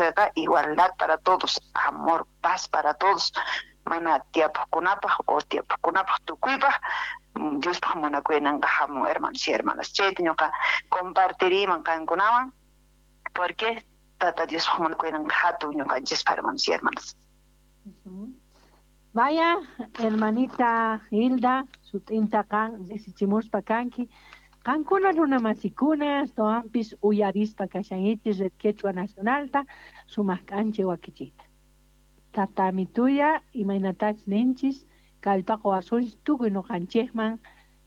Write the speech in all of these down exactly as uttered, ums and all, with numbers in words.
kawsayqa igualdad para todos, amor, paz para todos, mana tiyapuqkunapaq o tiyapuqkunapaq tukuypaq Diospaq munakuynanqa hamun, hermanos y hermanas. Chayta ñuqa compartiriyman qankunawan, porque Tata Diospaq munakuynanqa hatun ñuqanchispaq, hermanos y hermanas. Vaya, hermanita Hilda, sut'inta qan risichimuspa kanki. Qankuna runa masikuna, astawanpis uyarispa kashankichis Red Quechua Nacionalta, sumaq k'anchay wakichiyta. Tata Amituya, imaynatachus ninchis, kallpaqa wasunchis tukuy ñuqanchikman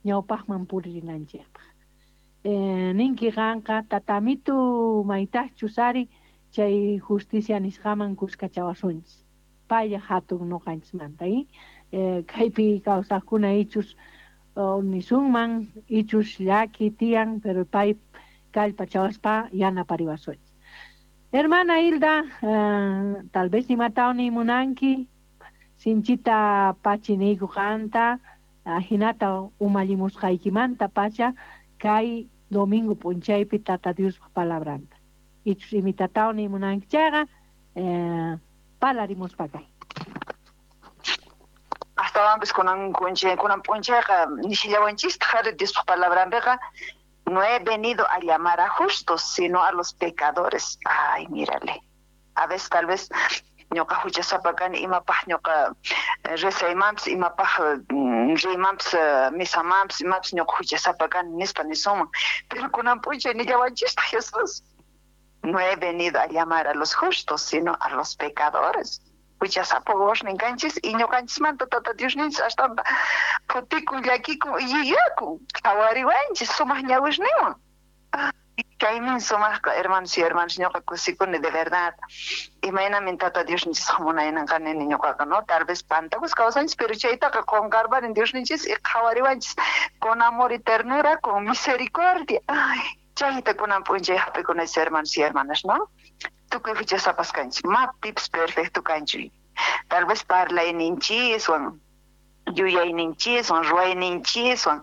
ñawpaqman puririnanchikpaq. Eh, ninki qanqa Tata Amitu maytaqchus ari chay justicia nisqaman kuskachawasunchis. Paylla hatun ñuqanchismanta, y eh, kaypi kawsaqkuna ichus nisunman ichus llaki tiyan, pero pay kallpachawaspa yanapariwasunchis. Hermana Hilda, uh, tal vez imatawan munanki, sinchita pachi niyku qanta, ajinata umallimusqaykimanta pacha kay domingo p'unchaypi Tata Diospaq palabranta. Ichus imitatawan munanki chayqa, eh, parlarimuspa kay. Astawanpis kunan kunchay kunan p'unchayqa nishillawanchistaq ari Diospaq palabranpiqa, no he venido a llamar a justos, sino a los pecadores. Ay, mírale. A veces tal vez ñuqa huchasapa kani, imapaq ñuqa rezaymanpis, imapaq riymanpis, misamanpis, imapis ñuqa huchasapa kani nispa nisunman. Pero kunan p'unchay nillawanchistaq Jesús, no he venido a llamar a los justos, sino a los pecadores. Huchasapa wawasnin kanchis y ñuqanchismanta Tata Diosninchis ashtanta phutikun, llakikun y yuyakun, qhawariwanchis sumaq ñawisninwan. Kaymin sumaqqa, hermanos y hermanas, ñuqa kusikuni de verdad. Imaynamin Tata Diosninchis munayninqa nini ñuqaqa, no? Tal vez pantakus kawsanchis, pero chaytaqa qunqarparin Diosninchis y qhawariwanchis con amor y ternura, con misericordia. Ay, chayta kunan p'unchay hap'ikunachis, hermanos y hermanas, ¿no? Tukuy huchasapas kanchis, ma pipis perfecto kanchu. Tal vez parlayninchiswan, yuyayninchiswan, ruwayninchiswan,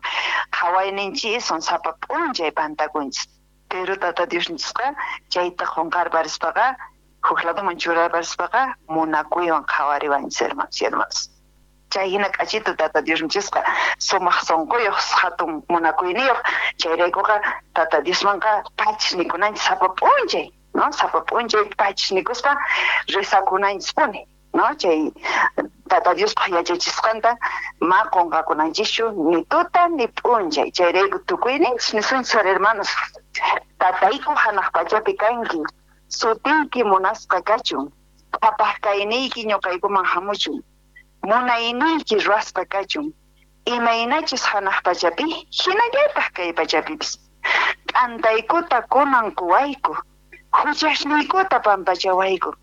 qhawayninchiswan sapa p'unchay pantakunchis. Pero Tata Diosninchisqa chayta qunqarparispaqa, huk ladoman churarparispaqa munakuywan qhawariwanchis, hermanos y hermanas. Chay hina k'achito Tata Diosninchisqa sumaq sunquyuq, hatun munakuyniyuq. Chayraykuqa Tata Diosmanqa pachis nikunanchis sapa p'unchay, ¿no? Sapa p'unchay pachis nikuspa rezakunanchispuni, ¿no? Chay Tata Diospaq yachachisqanta ma qunqakunanchischu ni tuta ni p'unchay. Chayrayku tukuyninchis nisunchis, hermanos, Tatayku hanaq pachapi kanki, sutiyki munasqa kachun, qhapaq kayniyki ñuqaykuman hamuchun, munayniyki ruwasqa kachun, imaynachus hanaq pachapi, hinallataq kay pachapipis. T'antaykuta kunan quwayku, huchasniykuta pampachawayku,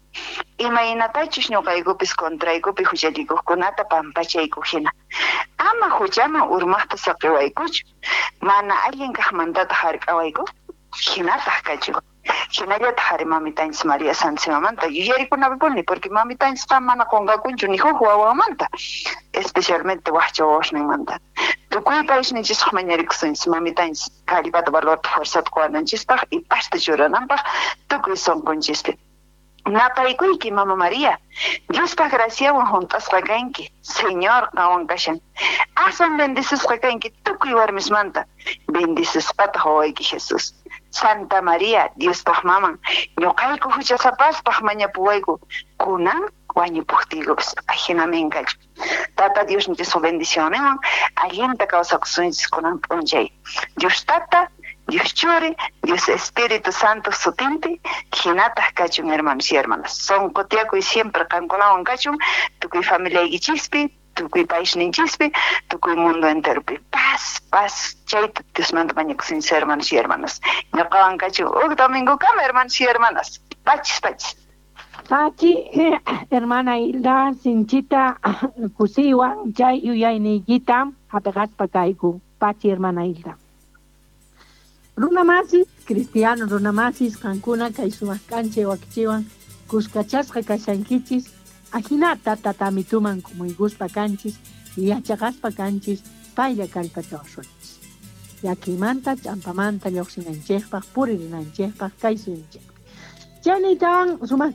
imaynatachus ñuqaykupis contraykupi huchallikuqkunata pampachayku hina. Ama huchaman urmaqta saqiwaykuchu, mana allin kaqmantataq hark'awayku, hinataq kachun. Hinallataq ari mamitanchis María Santísimamanta yuyarikunapipuni, porque mamitanchisqa mana qunqakunchu ni huk wawamanta, especialmente waqcha wawasninmanta. Tukuy paysninchisqa mañarikusunchis mamitanchis kallpata, valorta, fuerzata quwananchispaq y pasta churananpaq tukuy sunqunchispi. Napaykuyki, Mama María, Diospaq graciawan hunt'asqa kanki, Señor qanwan kashan. Aswan bendecisqa kanki tukuy warmismanta, bendecisqataq wawayki Jesús. Santa María, Diospaq maman, ñuqayku huchasapaspaq mañapuwayku, kunan wañupuqtiykupis, ajinamin kachun. Tata Diosninchis bendicionninwan allinta kawsakusunchis kunan p'unchay. Dios Tata, Dios Churi, Dios Espíritu Santo sutinpi, hinataq kachun, hermanos y hermanas. Sunqu tiyakuy siempre qankunawan kachun, tukuy familiaykichispi, tukuy paisninchispi, tukuy mundo enteropi. Paz, paz, chayta Diosmanta mañakusunchis, hermanos y hermanas. Ñuqawan kachun huk domingokama, hermanos y hermanas. Pachis, pachis. Pachi, hermana Hilda, sinchita kusiwan chay yuyayniykita hap'iqaspa kayku. Pachi, hermana Hilda. Runa masis, cristiano runa masis, qankuna kay sumaq k'anchay wakichiwan kuskachasqa kashankichis, ajinata tatamituman kumuykuspa kanchis, yachaqaspa kanchis, paylla kallpachawasunchis. Llakimanta, ch'ampamanta lluqsinanchikpaq, puririnanchikpaq, kay suyunchikpi. Chaynitawan sumaq